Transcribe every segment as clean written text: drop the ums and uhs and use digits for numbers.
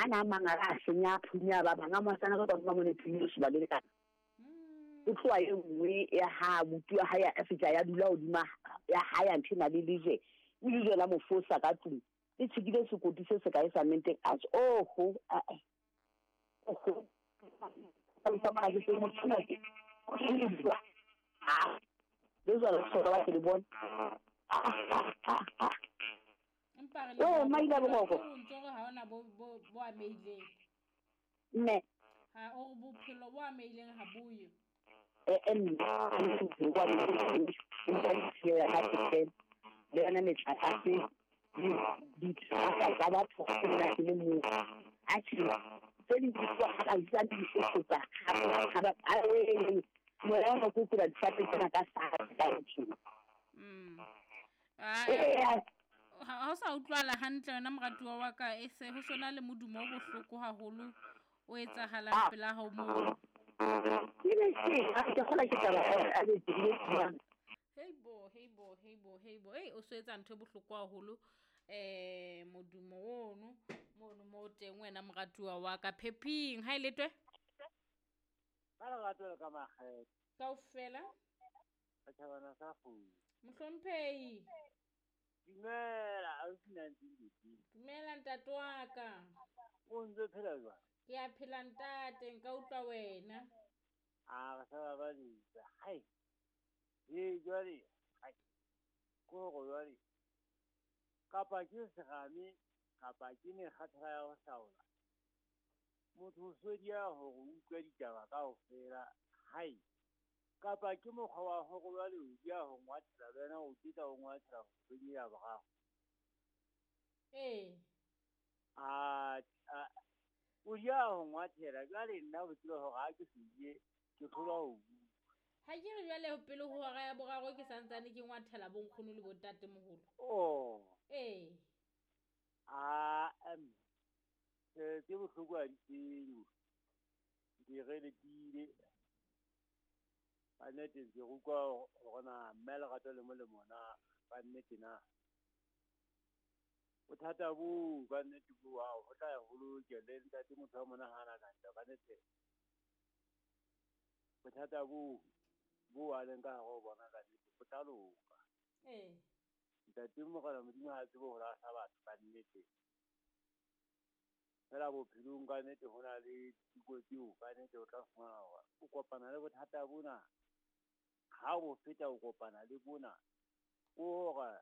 A na mangala a senya phunya ba bang a masana ka ba mone phunya se ba le ka. O tloha e nngwe ya ha buti wa hae a fihla ya dula hodima ya hae ntho na le lejwe. O lejwe la mo fosa ka tlung. Le tshikile sekoti se se kae sa menteng. A tjho oho a a. Oho. Le jwalo hloka ba ke le bone. Empa re Oh, maila boroko. O ntse re ha ona bo bo bo amehileng. Mme. Ha o re bophelo bo amehileng ha bo yo. Le yona metlakase ditaba tsa batho nna ke le moo. Atjhe, tse ding di tloha ha ba isa di eketsa ha ba moya ona ke tsela difate tsena ka sa ka tjena. Ha o sa utlwala hantle wena moratuwa wa ka, e se ho sona le modumo o bohloko haholo o etsahalang pela hao moo. Ke be ke kgola ke taba a be ke. Hey bo, hey bo, hey bo, hey bo. Ei, o so etsa ntho e bohloko haholo. Modumo ono mono mo teng wena moratuwa wa ka. Phephing, ha e letwe? Ka lerato le ka makgethe. Kaofela. Setjhabana sa kgomo. Mohlomphehi. Dumela, ausi Nancy. Dumela ntate wa ka. O ntse phela jwang? Ke a phela ntate, nka utlwa wena. A re sa babaletsa. Hai. Ee, jwale, hai. Ko hore jwale. Kapa ke serame, kapa ke mekgathala ya ho hlaola. Motho o sodiya hore o utlwe ditaba kaofela. Hai. Kapa ke mokgwa wa hore jwale o dia ho ngwathela le wena o teta o ngwathela ho kgwedi ya boraro. Ee. A o dia ho ngwathela jwale nna o tsebe hore ha ke se die ke tlholwa ho bua. Ha ke re jwale pele ho hora ya boraro ke santsane ke ngwathela bonkgono le bontatemoholo. Oh. Ee. A tse bohloko ha di tseo. Di re letile. Ka nnete ke utlwa hore na mme lerato le molemo na ka nnete na. Bothata bo ka nnete bo ha ho tla ya ho loke le ntate motho wa monahana ka ntle ka nnete. Bothata bo bo a leng ka hare ho bona ka nnete bo tla loka. Ee. Ntate Morena Modimo ha tsebe ho lahla batho ka nnete. Fela bophelong ka nnete ho na le diteko tseo ka nnete o tla fumana hore o kopana le bothata bona. Ha o feta o kopana le bona. O hore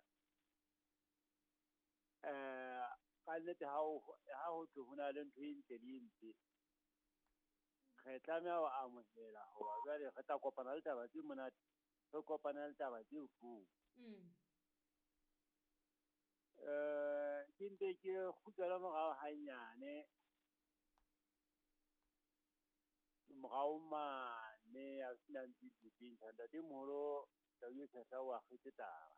ka nnete ha ho thwe ho na le ntho e ntle le e mpe. Re tlameha ho amohela hore jwale re tla kopana le taba tse monate, re kopana le taba tse bohloko. Ke ntse ke kgutlela morao hanyane. Morao mane a sena ntse teng ntatemoholo Tau e Tshehla o akgetse taba.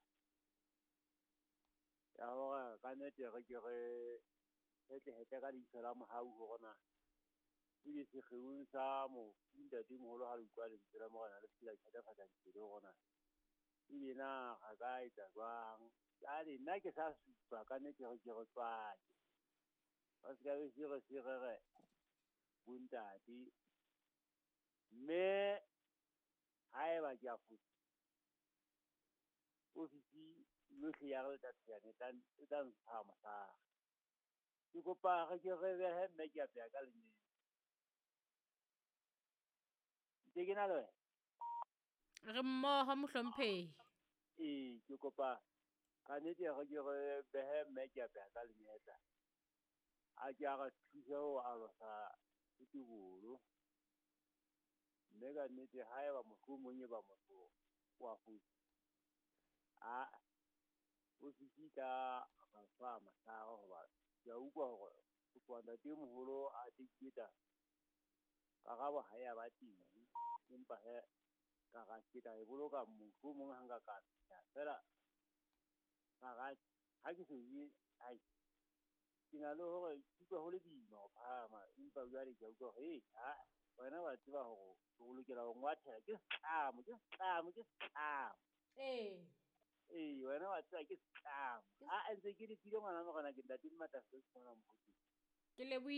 Ya hore ka nnete re ke re hetle ka leihlo la mohau hore na ebe sekgeong sa mofu ntatemoholo ha le utlwa lentswe la Morena le se la thatafatsa dipelo hore na ebe na re ka etsa jwang. Jwale nna ke sa supa ka nnete re ke re tswake. Ba se ka be se re se re re bontate. Mme haeba ke a fosa, ofisi yohle ya re Letatiane e tla ntsha mohlare. Ke kopa re ke re behe mme ke apeha ka lenyele. Ntse ke na le wena? Re mmoho mohlomphehi. Ee, ke kopa ka nnete re ke re behe mme ke apeha ka lenyetla. A ke a re thuse ho alosa setebolo. Mme ka nnete haeba mohlomong e ba motho wa fosa, a ofisi ka fa mahlare hoba ke a utlwa hore ho tloha ntatemoholo a teketa karabo ha ya ba teng, empa he ka ra ke tla e boloka mohlomong ha nka ka fihla fela ka ra ha ke so ye ai ke na le hore ke utlwa ho le boima ho phahama, empa jwale ke a utlwa hore ha wena wa tseba hore o lokela ho ngwathela ke setlamo ke setlamo ke setlamo. Ee. Ee, wena wa tseba ke setlamo. A ntse ke letile ngwana Morena ke ntate Mmatla se fumana mohope. Ke lebohile.